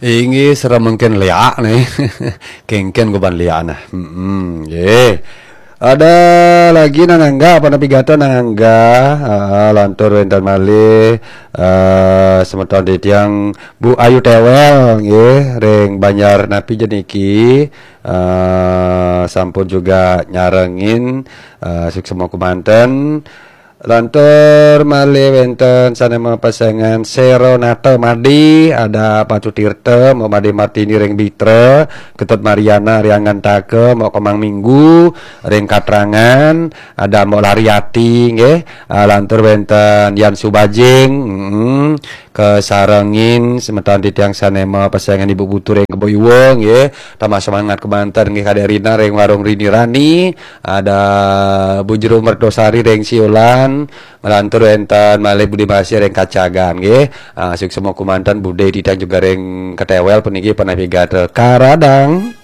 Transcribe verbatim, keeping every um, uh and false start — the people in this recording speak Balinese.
Inggih, sareng mangkin Léa nih. Kéngkén goban Léa nah. Hmm, nggih. Ada lagi nang Angga, apa napi gatra nang Angga? Ah, lantur wénten malih eh semeton titiang Bu Ayu Téwél nggih, ring Banjar napi ja niki. Eh sampun juga nyarengin eh suksma kumanten. Lantur malih wénten sané mapesengan Séronata Madi, ada Pacu Tirta, Mbok Madi Martini ring Bitra, Ketut Mariana ring Angantaka, Mbok Komang Minggu ring Katrangan, ada Mbok Lariati nggih. Ah, lantur wénten Yan Subajing, mm, kasarengin semeton titiang sané mapesengan Ibu Putu ring Kebo Iwa nggih. Tambah semangat kemanten nggih Kadék Rina ring Warung Rini Rani, ada Bu Jero Mertosari ring Siolan, nglantur wénten malih Budi Masih ring Kacagan nggih. Ah, suksma kumanten Budi titiang juga ring Ketéwél puniki panapi gatra karadang.